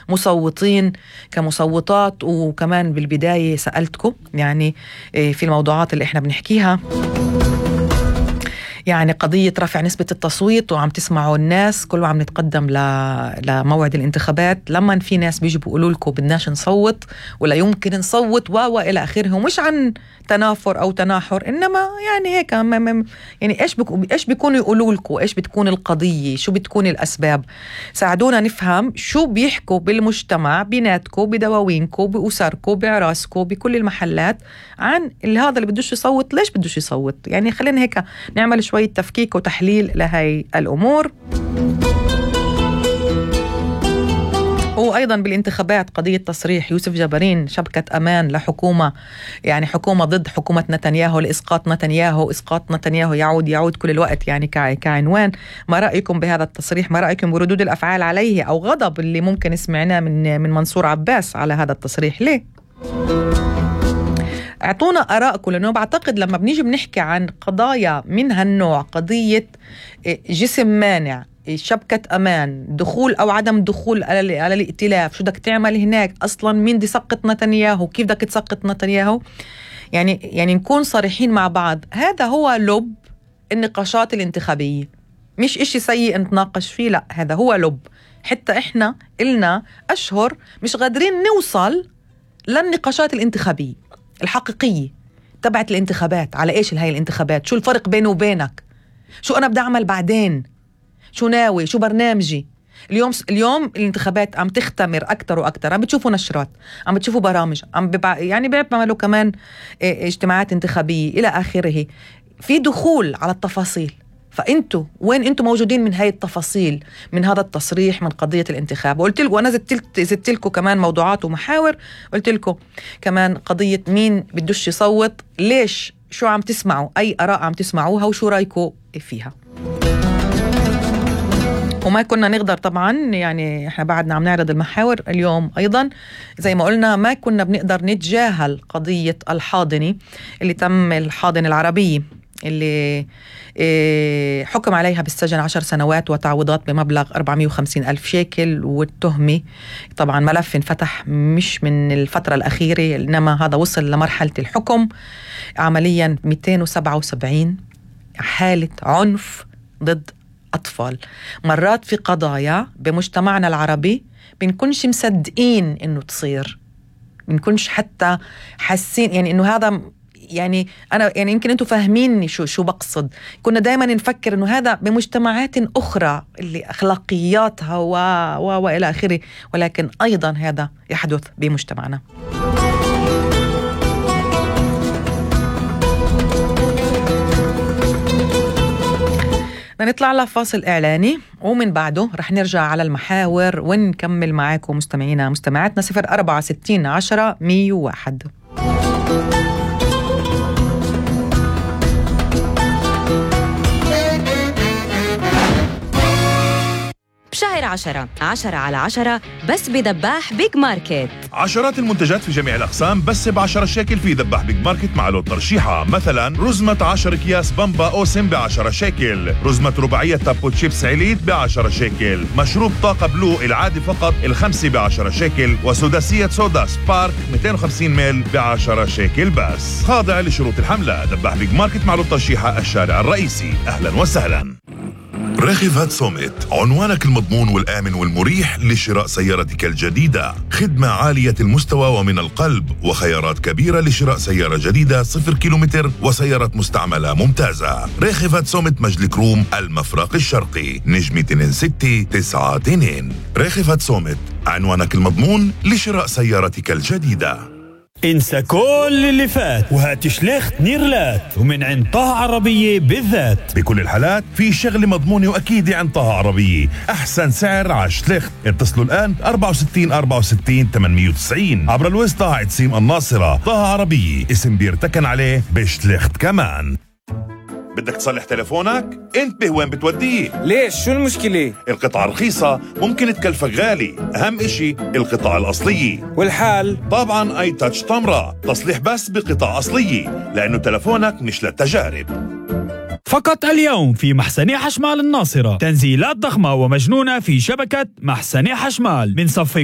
كمصوتين كمصوتات. وكمان بالبداية سألتكم يعني في الموضوعات اللي احنا بنحكيها يعني قضية رفع نسبة التصويت، وعم تسمعوا الناس كله عم نتقدم لموعد الانتخابات. لما في ناس بيجوا بيقولوا لكم بدناش نصوت ولا يمكن نصوت وإلى آخره، ومش عن تنافر أو تناحر، إنما يعني هيك يعني إيش بيكونوا يقولوا لكم، إيش بتكون القضية، شو بتكون الأسباب. ساعدونا نفهم شو بيحكوا بالمجتمع بيناتكم بدواوينكم بأسركم بعراسكم بكل المحلات عن هذا اللي بدوش يصوت ليش بدوش يصوت. يعني خلينا هيك نعمل شوية تفكيك وتحليل لهي الأمور. وأيضا بالانتخابات قضية تصريح يوسف جبرين شبكة أمان لحكومة، يعني حكومة ضد حكومة نتنياهو لإسقاط نتنياهو. إسقاط نتنياهو يعود كل الوقت يعني كعنوان. ما رأيكم بهذا التصريح؟ ما رأيكم بردود الأفعال عليه أو غضب اللي ممكن سمعناه من منصور عباس على هذا التصريح؟ ليه؟ اعطونا آراءكم، لأنه بعتقد لما بنيجي بنحكي عن قضايا من هالنوع، قضية جسم مانع، شبكة أمان، دخول أو عدم دخول على الائتلاف، شو بدك تعمل هناك أصلا، مين دي سقط نتنياهو، كيف بدك تسقط نتنياهو. يعني نكون صريحين مع بعض، هذا هو لب النقاشات الانتخابية، مش إشي سيء نتناقش فيه، لا هذا هو لب. حتى إحنا إلنا أشهر مش قادرين نوصل للنقاشات الانتخابية الحقيقية تبعت الانتخابات. على إيش هاي الانتخابات؟ شو الفرق بينه وبينك؟ شو أنا بدي أعمل بعدين؟ شو ناوي؟ شو برنامجي؟ اليوم الانتخابات عم تختمر أكتر وأكتر، عم بتشوفوا نشرات، عم بتشوفوا برامج، يعني بيعملوا كمان اجتماعات انتخابية إلى آخره. في دخول على التفاصيل، فأنتوا وين أنتوا موجودين من هاي التفاصيل، من هذا التصريح، من قضية الانتخاب؟ وقلت لكم أنا زدت لكم كمان موضوعات ومحاور. قلت لكم كمان قضية مين بدوش يصوت، ليش، شو عم تسمعوا، أي آراء عم تسمعوها وشو رأيكم فيها. وما كنا نقدر طبعا، يعني احنا بعدنا عم نعرض المحاور اليوم ايضا زي ما قلنا، ما كنا بنقدر نتجاهل قضية الحاضنة اللي تم، الحاضنة العربية اللي حكم عليها بالسجن 10 سنوات وتعويضات بمبلغ 450,000 شيكل. والتهمة طبعا ملف انفتح مش من الفترة الأخيرة، إنما هذا وصل لمرحلة الحكم. عمليا 277 حالة عنف ضد أطفال. مرات في قضايا بمجتمعنا العربي بنكونش مصدقين إنه تصير، بنكونش حتى حاسين يعني إنه هذا، يعني أنا يعني يمكن أنتوا فاهميني شو بقصد. كنا دايما نفكر إنه هذا بمجتمعات أخرى اللي أخلاقياتها وإلى آخره، ولكن أيضا هذا يحدث بمجتمعنا. نطلع لفاصل إعلاني ومن بعده رح نرجع على المحاور ونكمل معاكم مستمعينا مستمعاتنا. 0460 10 101. بشهر 10 على 10 بس بدباح بيج ماركت. عشرات المنتجات في جميع الأقسام بس ب10 شيكل في دباح بيج ماركت مع لون ترشيحة. مثلا رزمة 10 أكياس بامبا أوسم ب10 شيكل، رزمة رباعية تابو تشيبس عليت ب10 شيكل، مشروب طاقة بلو العادي فقط الخمسة ب10 شيكل، وسداسية صودا سبارك 250 مل ب10 شيكل بس. خاضع لشروط الحملة. دباح بيج ماركت مع لون ترشيحة الشارع الرئيسي. أهلا وسهلا. راغب سوميت، عنوانك المضمون والآمن والمريح لشراء سيارتك الجديدة. خدمة عالية المستوى ومن القلب، وخيارات كبيرة لشراء سيارة جديدة 0 كيلومتر وسيارة مستعملة ممتازة. راغب سوميت مجلك روم المفرق الشرقي، نجمة 2692. راغب سوميت، عنوانك المضمون لشراء سيارتك الجديدة. انسى كل اللي فات وهات شليخت نيرلات، ومن عند طه عربية بالذات. بكل الحالات في شغلة مضمونة وأكيدة عند طه عربية. أحسن سعر على شليخت. اتصلوا الآن 64 64 890 عبر الوسط طه عتسيم الناصرة. طه عربية، اسم بيرتكن عليه بشليخت كمان. بدك تصلح تلفونك؟ انتبه وين بتوديه. ليش؟ شو المشكلة؟ القطع رخيصة ممكن تكلفك غالي، أهم إشي القطع الأصلية. والحال؟ طبعا اي تاتش تمرة، تصليح بس بقطع أصلية، لأنه تلفونك مش للتجارب. فقط اليوم في محسني حشمال الناصرة تنزيلات ضخمة ومجنونة في شبكة محسني حشمال من صف